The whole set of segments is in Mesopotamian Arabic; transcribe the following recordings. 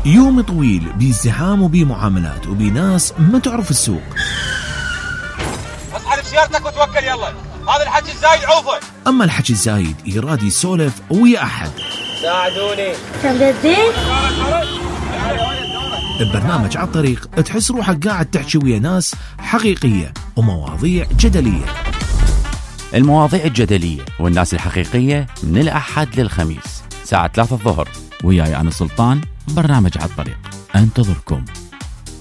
يوم طويل بازدحام وبمعاملات وبناس ما تعرف السوق. اصحى سيارتك وتوكل يلا، هذا الحكي الزايد عوفه. اما الحكي الزايد يراد يسولف ويا احد. ساعدوني. تمددين؟ ببرنامج على الطريق تحس روحك قاعد تحكي ويا ناس حقيقية ومواضيع جدلية. المواضيع الجدلية والناس الحقيقية من الأحد للخميس الساعة 3 الظهر، وياي أنا سلطان. برنامج على الطريق أنتظركم،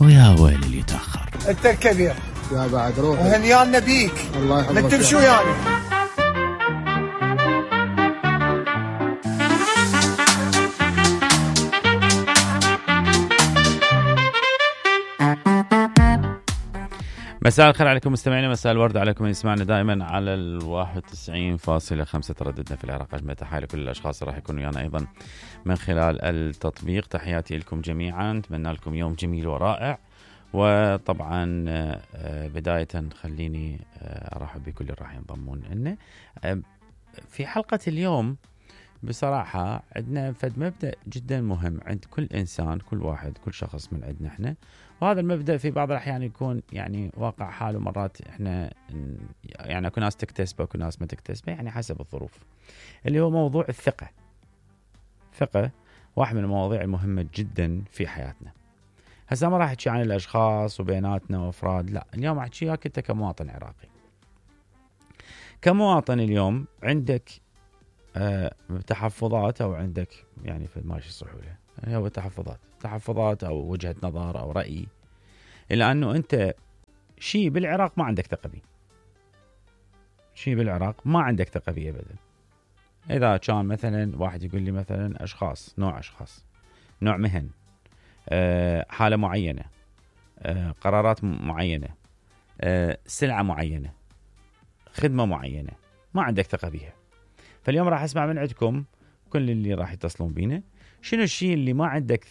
ويا ويل اللي يتأخر. أنت الكبير يا بعد روحي وهنيانا بيك. الله يحفظك. من تمشوا يعني. مساء الخير عليكم مستمعينا، مساء الورد عليكم من يسمعنا دائما على 91.5 ترددنا في العراق. أجمل تحية لكل الأشخاص راح يكونوا ويانا أيضا من خلال التطبيق. تحياتي لكم جميعا، أتمنى لكم يوم جميل ورائع. وطبعا بداية خليني أرحب بكل اللي راح ينضمون لنا في حلقة اليوم. بصراحة عندنا فد مبدأ جدا مهم عند كل إنسان، كل واحد، كل شخص من عندنا إحنا، وهذا المبدأ في بعض الأحيان يكون يعني واقع حاله. مرات إحنا يعني أكو ناس تكتسبه وأكو ناس ما تكتسبه، يعني حسب الظروف، اللي هو موضوع الثقة. ثقة واحد من المواضيع المهمة جدا في حياتنا. هسا ما راح أحكي عن الأشخاص وبيناتنا وأفراد، لا، اليوم أحكي وياك أنت كمواطن عراقي. كمواطن اليوم عندك تحفظات، أو عندك يعني في ماشي الصحولة يعني هو تحفظات أو وجهة نظر أو رأي، إلا أنه أنت شيء بالعراق ما عندك ثقة بيه، شيء بالعراق ما عندك ثقة بيه أبدا. إذا كان مثلا واحد يقول لي مثلا أشخاص، نوع مهن، حالة معينة، قرارات معينة، سلعة معينة، خدمة معينة، ما عندك ثقة بيها. فاليوم راح أسمع من عندكم كل اللي راح يتصلون بينا، شنو الشيء اللي ما عندك